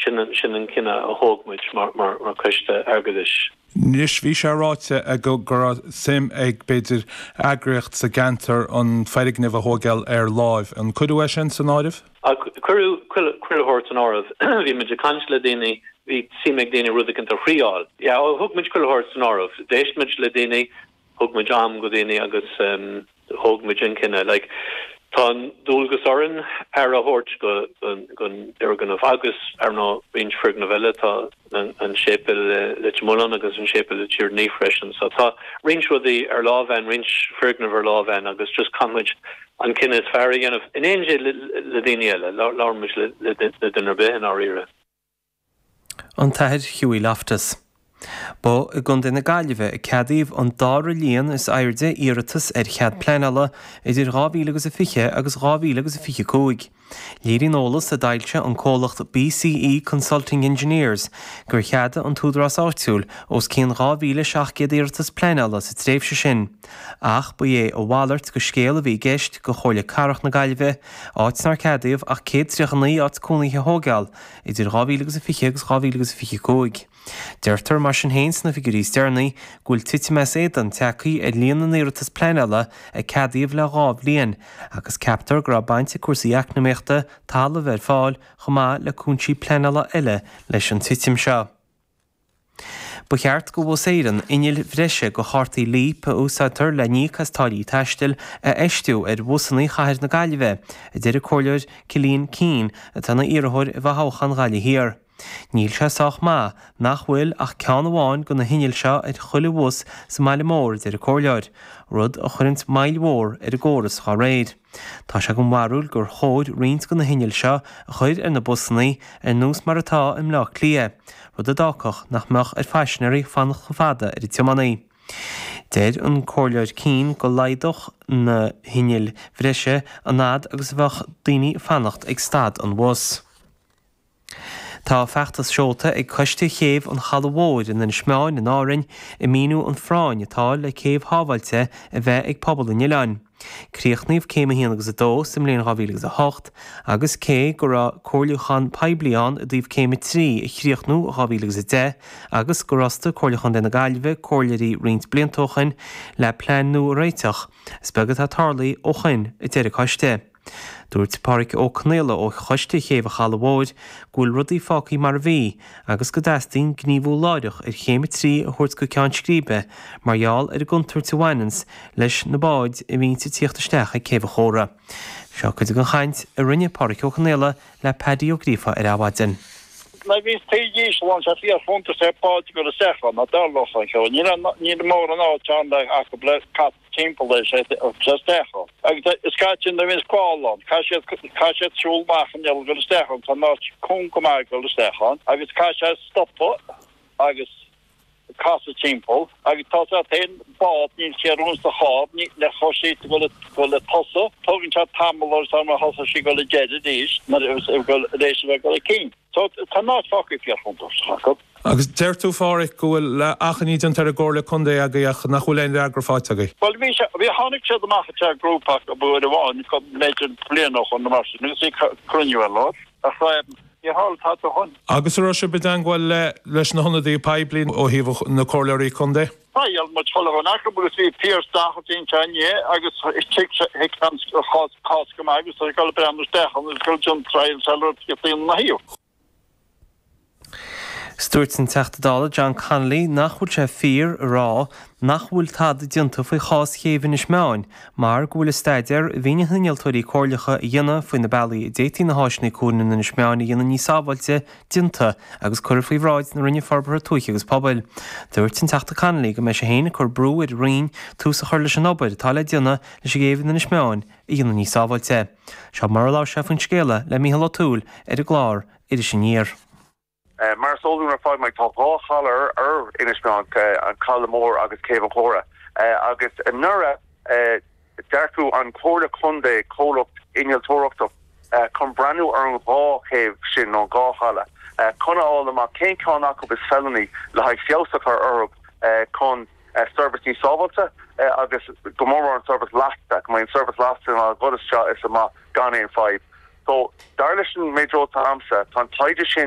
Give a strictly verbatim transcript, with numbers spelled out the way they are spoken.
Sin sin an cinneadh a thóg muid mar mar mar choiste airgeadais. Anois bhí sé ráite go raibh suim ag b'fhéidir eagraíocht sa gceantar an foirgneamh a thógáil ar láimh. An cuireadh é sin san áireamh? Cuireadh chuile shórt san áireamh bhí muid ag caint le daoine bhí suim ag daoine rud éicint a thriáil. Ja thug muid chuile shórt san áireamh. D'éist muid le daoine thug muid am go daoine agus um, thóg muid an cinneadh. Like, Tá dualgas orainn aire a thabhairt go don fhoirgneamh agus ar nó roinnt foirgneamh eile tá an séipéal Leitir Mealláin agus an séipéal Tír an Fhia freisin. So tá roinnt rudaí ar lámh roinnt foirgneamh ar lámh agus just caithfimid an cinneadh is fearr a dhéanamh in éineacht le daoine eile labhraímid le duine ar bith in áirithe. An tAthair Hughie Loftus. Ba i gContae na Gaillimhe a ceadaíodh an dara líon is airde iarratas ar chead pleanála idir dhá mhíle agus a fiche agus dhá mhíle agus a fiche cúig. Léiríonn eolas a d'fhoilsigh an comhlacht BCE Consulting Engineers gur cheadaigh an t-údarás áitiúil os cionn dhá mhíle seacht gcéad iarratas pleanála sa tréimhse sin. Ach ba é a mhalairt de scéal a bhí i gceist do Chomhairle Cathrach na Gaillimhe, áit nár ceadaíodh ach céad tríocha naoi áit cónaithe a thógáil idir dhá mhíle agus a fiche agus dhá mhíle agus a fiche cúig. Deirtear mar sin féin sna figiúirí is deireanaí go bhfuil titim as éadan tagtha ar líon na n-iarratas pleanála a ceadaíodh le dhá bhliain, agus ceaptar go raibh baint ag cúrsaí eacnamaíochta, talamh ar fáil chomh maith le cúinsí pleanála eile leis an titim seo. Ba cheart go Bhus Éireann innill bhreise do chártaí Leap a úsáidtear le n-íoc as táillí taistil a fheistiú ar bhusanna chathair na Gaillimhe, a deir an Comhairleoir Cillian Keane atá ina iarrthóir i bhfothoghchán Ghaillimh Thiar. Níl sé sách maith nach bhfuil ach ceann amháin de na hinnill seo ar chuile bhus sa mbaile mór, a deir an Comhairleoir, rud a chuireanns moill mhór ar an gcóras dá réir. Tá sé den bharúil gur chóir roinnt de na hinnill seo a chur ar na busanna ar nós mar atá i mBleá Cliath, rud a d'fhágfadh nach mbeadh ar phaisinéirí fanacht chomh fada ar an tiománaí. Deir an Comhairleoir Keane go laghdódh na hinnill bhreise an fhad agus a bheadh daoine ag fanacht ag stad an bhus. Tá feachtas seolta ag Coiste Chéibh an Chalaidh Mhóir in Inis Meáin in Árainn ag míniú an phráinn atá le céibh shábháilte a bheith ag pobal an oileáin. Críochnaíodh céim a haon agus a dó sa mbliain dhá mhíle agus a hocht agus cé go raibh comhairliúchán poiblí ann i dtaobh céim a trí a chríochnú i dhá mhíle agus a deich agus gur fhostaigh Comhairle Chontae na Gaillimhe comhairleoirí roinnt blianta ó shoin le plean nua a réiteach, is beag atá tarlaithe ó shoin, a deir an coiste. Dúirt Páraic Ó Conaola ó Choiste Chéibh an Chalaidh Mhóir go bhfuil rudaí fágtha mar a bhí agus go dteastaíonn gníomhú láithreach ar Chéim a trí a thabhairt go ceann scríbe mar gheall ar an gcontúirt a bhaineanns leis na báid a bhíonns ag tíocht isteach ag Céibh an Chóra. Seo cuid den chaint a rinne Páraic Ó Conaola le Paddy Ó Gríofa ar Adhmhaidin. Nuair a bhíos taobh íseal ann, sé fíor chuntas ar báid ag dul isteach ann, ná dtarlódh an cheo. Níl aon, níl mórán áit ann le acu le casadh timpeall leis é isteach ann. Agus scaití nuair a bhíonn scáil ann, caithfidh siad, caithfidh siad siúl amach an iall ag dul isteach ann, tá an áit cúng go maith ag dul isteach ann, agus caithfidh sé stopadh agus casadh timpeall agus tá sé féin bád níl sé ar ionsaí chár ní le chuir sí go le go le tosadh tógann sé tamall agus tá mar thosaigh sí go le deireadh arís nuair a go leis a bheith go le cinn. So tá an áit fágtha fíor chontúirteach acu. Agus deir tú, a Pháraic, go bhfuil achainí déanta ar an gComhairle Contae agaibh ach nach bhfuil aon fhreagra faighte agaibh? Bhuel bhí sé, bhí, tháinig siad amach ag teach grúpa acu uair amháin, b'fhéidir bliain ó shoin nó mar sin agus bhí cruinniú ar lár ach níor tharla tada ó shoin. Agus an raibh sibh i dteangmháil le leis na hionadaithe poiblí ó thaobh na comhairleoirí contae? Bhuail muid chuile dhuine acu agus bhí Pearse Doherty anseo inné agus thuig sé thuig an chás cás go maith agus tá sé ag dul ag breathnú isteach ann agus ag dul déanamh triail sé le rud daoine ina thaobh. Dúirt an Teachta Dála John Connolly nach bhfuil sé fíor a rá nach bhfuil tada déanta faoi chás Chéibh Inis Meáin mar go bhfuil an staidéar a bhí na hinnealtóirí comhairleacha a dhéanamh faoi na bealaí a d'fhéadfaí na háiseanna cuain in Inis Meáin a dhéanamh níos sábháilte déanta agus curtha faoi bhráid na Roinne Forbartha Tuaithe agus Pobail. Dúirt an Teachta Connolly go mbeidh sé féin ag cur brú ar an Roinn tús a chur leis an obair atá le déanamh leis an gcéibh in Inis Meáin a dhéanamh níos sábháilte. Seo mar a labhair sé faoin scéala le Mícheál Ó Tuathail ar an gclár Iris Aniar. Mar is eol dúinn ar fad, Mike, tá dhá chaladh ar Inis Meáin, an Caladh Mór agus Céibh an Chóra, agus anuraidh d'earcaigh an Chomhairle Contae comhlacht innealtóireachta chun breathnú ar an dhá chéibh sin, nó an dhá chaladh, chun a fháil amach cén ceann acu is feiliúnaí le haghaidh feabhas a chur orthu chun seirbhís níos sábháilte agus go mór mór an seirbhís lasta, go mbeidh an seirbhís lasta in ann dul isteach is amach gan aon fadhb. So, dar leis an méid eolais atá agamsa, tá an taighde sin.